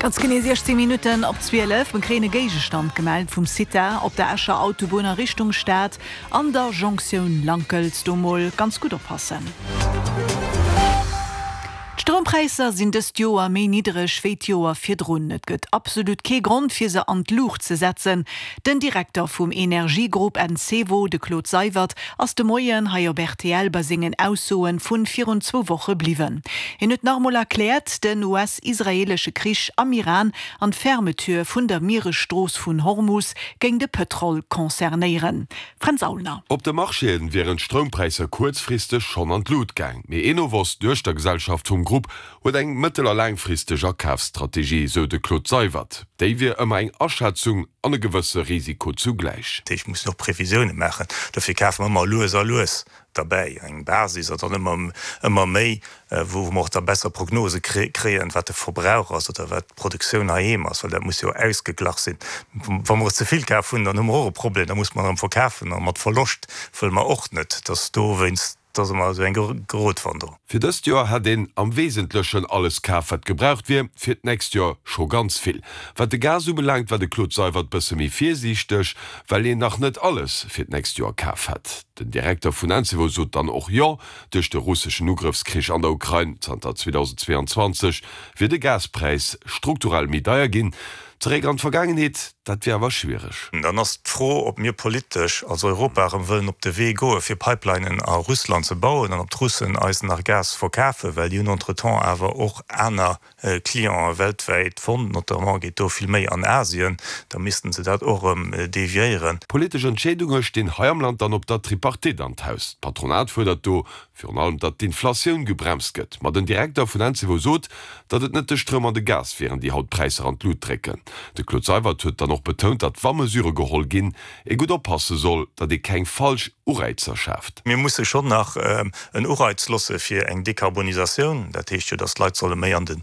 Ganz genee 16 Minutten op 12. Mir kréien e Géigestand gemellt vum CITA op der Escher Autobunn a Richtung Stad an der Jonktioun Lankels. Do mol ganz gutt oppassen. D'Stroumpräisser sinn dëst Joer méi niddereg wéi d'Joer virdrun. Et gëtt absolut kee Grond fir se an d'Luucht ze setzen. Den Direkter vum Energiegrupp Encevo, de Claude Seywert, ass de Moien hei op rtl bei sengen Aussoen vun virun zwou Woche bliwwen. Hien huet nach emol erkläert, den US-israeelesche Krich am Iran an d'Fermeture vun der Mieresstrooss vun Hormus géing de Pëtrol concernéieren. Fränz Aulner. Op de Marchéen wieren d'Stroumpräisser kuerzfristeg schonn an d'Lut gaang, mee Enovos, d'Duechtergesellschaft vum Grupp, huet eng mëttel a laangfristeg Akafsstrategie, sou de Claude Seywert. Déi wier ëmmer eng Aschätzung an e gewësse Risiko zugläich. Dat heescht, mir mussen och Previsioune maachen. Dofir kafe mer ëmmer lues a lues derbäi, eng Basis a dann ëmmer ëmmer méi, wou mer och da besser Prognose kréien, wat de Verbrauch ass oder wat d'Produktioun heiheem ass, well dat muss jo ausgeglach sinn. Wa mer ze vill kaf hunn, dann hu mer och e Problem, da musse mer erëm verkafen a mat Verloscht wëlle mer och net, dass dowéinst, dass ëmmer esou eng Gratwanderung. Fir dëst Joer hätt een am Wesentlechen alles kaf, wat gebraucht wier, fir d'nächst Joer scho ganz vill. Wat de Gas ubelaangt, war de Claude Seywert bësse méi virsiichteg, well een nach net alles fir d'nächst Joer kaf hätt. Den Direkter vun Encevo sot dann och Jo, duerch de russeschen Ugrëffskrich an der Ukrain zanter 2022 wier de Gaspräis strukturell méi deier ginn. Zeréck an d'Vergaangenheet, dat wier awer schwiereg. Dann ass d'Fro, ob mir politesch als Europa erëm wëllen op de Wee goe fir Pipelinen a Russland ze bauen an ob d'Russen eis nach Gas verkafen, well déi hunn entretemps awer och aner Clienten weltwäit fonnt, notamment geet do vill méi an Asien, da missten se dat och erëm deviéieren. Politesch Entscheedunge stinn hei am Land dann op der Tripartite an d'Haus. D'Patronat fuerdert do virun allem, datt d'Inflatioun gebremst gëtt. Ma den Direkter vun Encevo sot, datt et net de Stroum an de Gas wieren, déi haut d'Präisser an d'Lut drécken. De Claude Seywert huet dann och betount, datt wa Mesurë geholl ginn, ee gutt oppasse soll, datt ee keng falsch Ureizer schaaft. Mir musse schonn nach en Ureiz losse fir eng Dekarbonisatioun. Dat heescht jo, datt d'Leit solle méi an de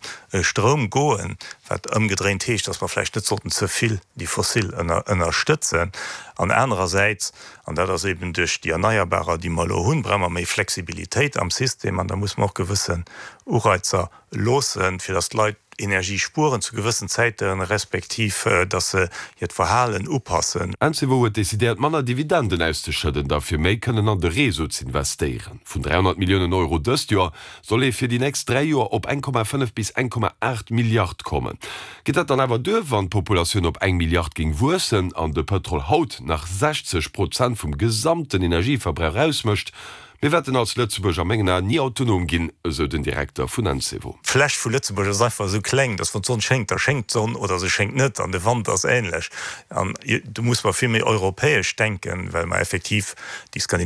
Stroum goen, wat ëmgedréint heescht, datt mer vläicht net sollten ze vill déi fossil ënnerstëtzen. An anerersäits, an dat ass eben duerch déi Erneierbarer, déi mer elo hunn, brauche mer méi Flexibilitéit am System an da musse mer och gewëssen Ureizer loossen, fir datt d'Leit Energie spueren zu gewëssen Zäiten, respektiv datt se hiert Verhalen upassen. Encevo huet decidéiert manner Dividenden auszeschëdden, da fir méi kënnen an de Réseau z'investéieren. Vun 300 Milliounen Euro dëst Joer soll ee fir déi nächst 3 Joer op 1,5 bis 1,8 Milliard kommen. Geet dat dann awer duer, wann d'Populatioun op eng Milliard géing wuessen an de Pëtrol haut nach 60 Prozent vum gesamten Energieverbrauch ausmécht? Mir wäerten als Lëtzebuerg a mengen Aen ni autonom ginn, esou den Direkter vun Encevo. D'Fläch vu Lëtzebuerg ass einfach esou kleng, dass wann d'Sonn schéngt, da schéngt d'Sonn oder se schéngt net an de Wand ass ähnlech. An do musse mer vill méi europäesch denken, well mer effektiv déi skandinavesch.